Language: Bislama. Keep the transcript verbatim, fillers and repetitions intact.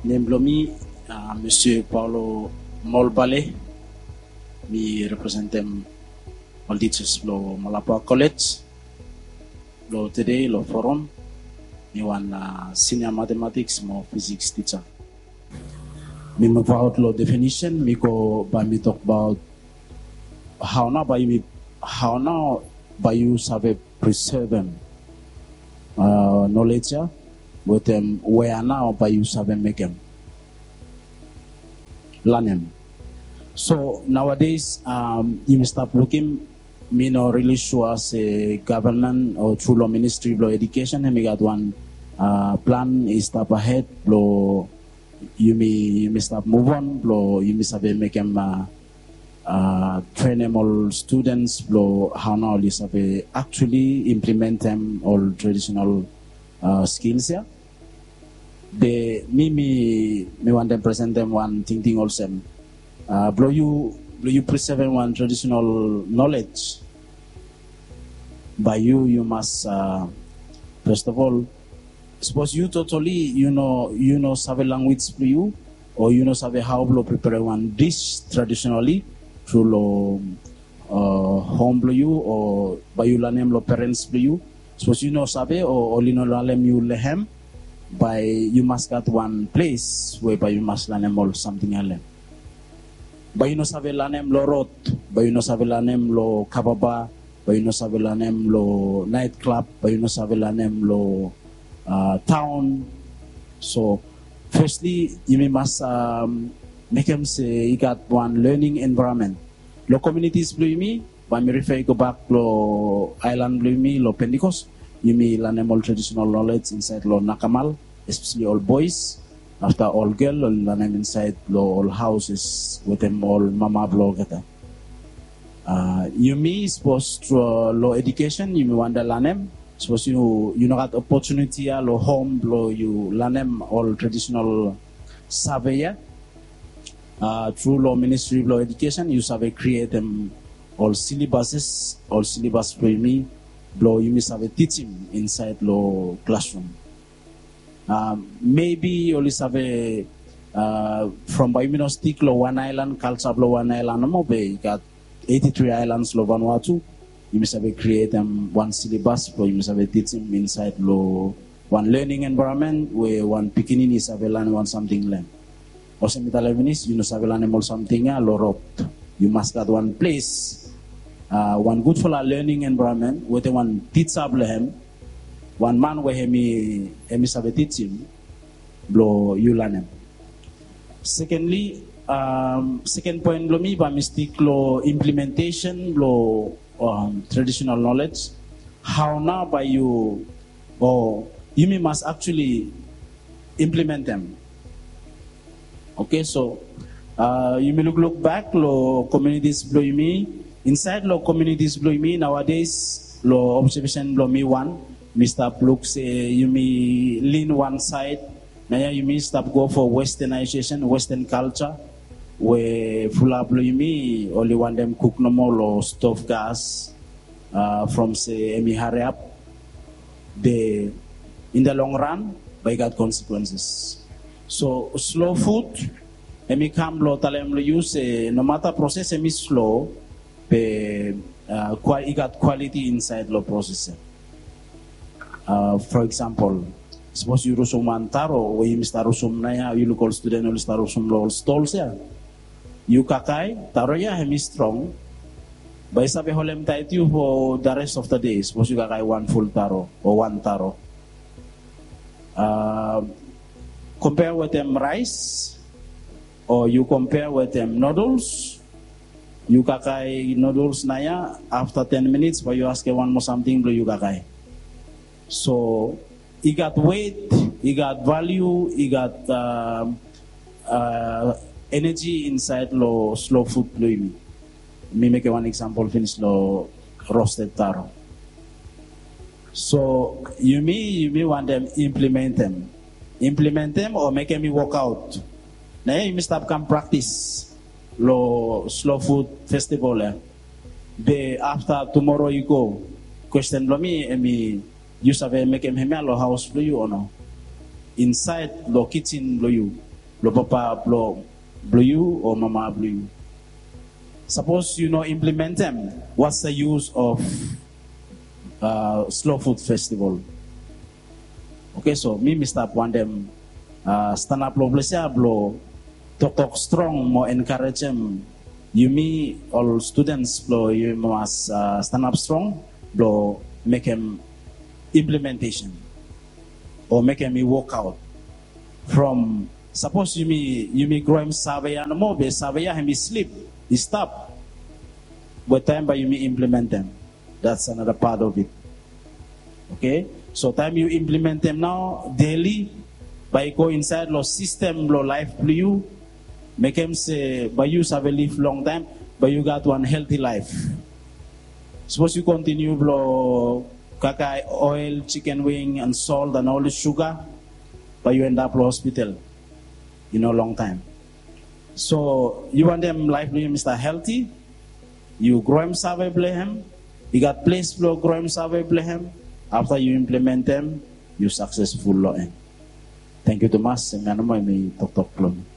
Nem blong mi, uh, Mister Paulo Molbale. Mi representem ol teachers blong Malapa College. Blong tede long forum, mi wan, uh, senior mathematics mo physics teacher. Mi move out long definition, mi go bae mi tokbaot hao nao bae yumi, hao nao bae yu save preservem, uh, knowledge ya, wetem wea nao bae yu save mekem, lanem. So nowadays, um, yumi stap lukim, mi no really sure se government o tru long Ministry blong Education hemi gat wan, uh, plan i stap ahed blong yumi, yumi stap move on blong yumi save mekem, uh, uh, trenem ol students blong hao nao oli save actually implementem ol traditional, uh, skills ya. Be mi, mi, mi wantem presentem wan tingting olsem, uh, blong yu, blong yu preservem wan traditional knowledge, bae yu, yu mas, uh, first of all, sapos yu totally yu no, yu no save language blong yu, o yu no save hao blong preperem wan dish traditionally tru long, uh, hom blong yu, o bae yu lanem long parents blong yu. Sapos yu no save, o oli no lanem yu long hem, bae yu mas gat wan ples we bae yu mas lanem ol samting ya long hem. Bae yu no save lanem long rod, bae yu no save lanem long kava bar, bae yu no save lanem long night club, bae yu no save lanem long, uh, taon. So firstly, yumi mas, um, mekem se i gat wan learning environment. Long communities blong yumi, bae mi refer i gobak long aelan blong yumi long Pentecost, yumi lanem ol traditional knowledge insaed long nakamal, especially ol boys. Afta ol gel oli lanem insaed long ol houses wetem ol mama blong olgeta. Uh, yumi sapos tru long education yumi wantem lanem, sapos yu, yu no gat opportunity ya long hom blong yu lanem ol traditional save ya, uh, tru long Ministry blong Education yu save createm ol syllabuses, ol syllabus blong yumi, blong yumi save tijim insaed long classroom. Um, maybe oli save, uh, from bae yumi no stik long wan aelan, culture blong wan aelan nomo, be i gat eighty-three islands long Vanuatu. Yumi save createm wan syllabus blong yumi save tijim insaed long wan learning environment we wan pikinini i save lanem wan samting long hem. Olsem mi talem finis, yu no save lanem ol samting ya long rod. Yu mas gat wan ples, uh, wan gudfala learning environment wetem wan tija blong hem, wan man we hemi, hemi save tijim blong yu lanem. Secondly, um, second point blong mi bae mi stik long implementation blong, um, traditional knowledge. Hao nao bae yu, o yumi mas actually implementem. Okay, so, uh, yumi lukluk bak long communities blong yumi, insaed long communities blong yumi nowadays, long observation blong mi wan, mi stap luk se yumi lin wan saed. Naoia yumi stap go for westernization, western culture, we fulap blong yumi oli wantem kuk nomo long stove gas, uh, from se hemi hariap. Be in the long run bae i gat consequences. So slow food, hemi kam blong talem long yu se nomata proses hemi slow, be, uh, kua-, i gat quality insaed long proses ya. Uh, for example, sapos yu rusum wan taro we yumi stap rusum naoia, yu luk ol studen oli stap rusum long ol stols ya. Yu kakae, taro ya hemi strong, bae i save holem taet yu for the rest of the day, sapos yu kakae wan ful taro o wan taro. Uh, compare wetem rice, o yu compare wetem noodles, yu kakae noodles naoia, afta ten minits bae yu askem wan moa samting blong yu kakae. So i gat wet, i gat value, i gat, um, uh, energy insaed long slow food blong yumi. Mi mekem wan example finis long roasted taro. So yumi, yumi wantem implementem, implementem o mekem i wokaot. Naoia yumi stap kam praktis long slow food festival ya. Be afta tumoro i go, kwesten blong mi hemi, yu save mekem hemia long haos blong yu o no? Insaed long kijin blong yu, blong papa blong blong yu o mama blong yu. Sapos yu no implementem, what's the use of uh, slow food festival? Oke, so mi mi stap wantem uh, stanap long ples ya blong toktok strong mo enkarejem yumi ol students blong yumi mas uh, stanap strong blong mekem implementation o mekem i workout. From sapos yumi yumi groem save ya nomo be save ya hem i slip, i stap. But taem bae yumi implementem, that's another part of it. Oke, so taem yu implementem nao deli, bae i go insaed long sistem blong laef blong yu, mekem se bae yu save liv longtaem, bae yu gat wan helti laef. Sapos yu kontiniu blong kakae oel, chicken wing and salt and ol suga, bae yu endap long hospital i no longtaem. So yu wantem laef blong yu i stap helti, yu groem save blong hem, i gat ples blong groem save blong hem. Afta yu implementem, yu saksesful long en. Tangkiu tumas. Em ya nomo em i toktok blong mi.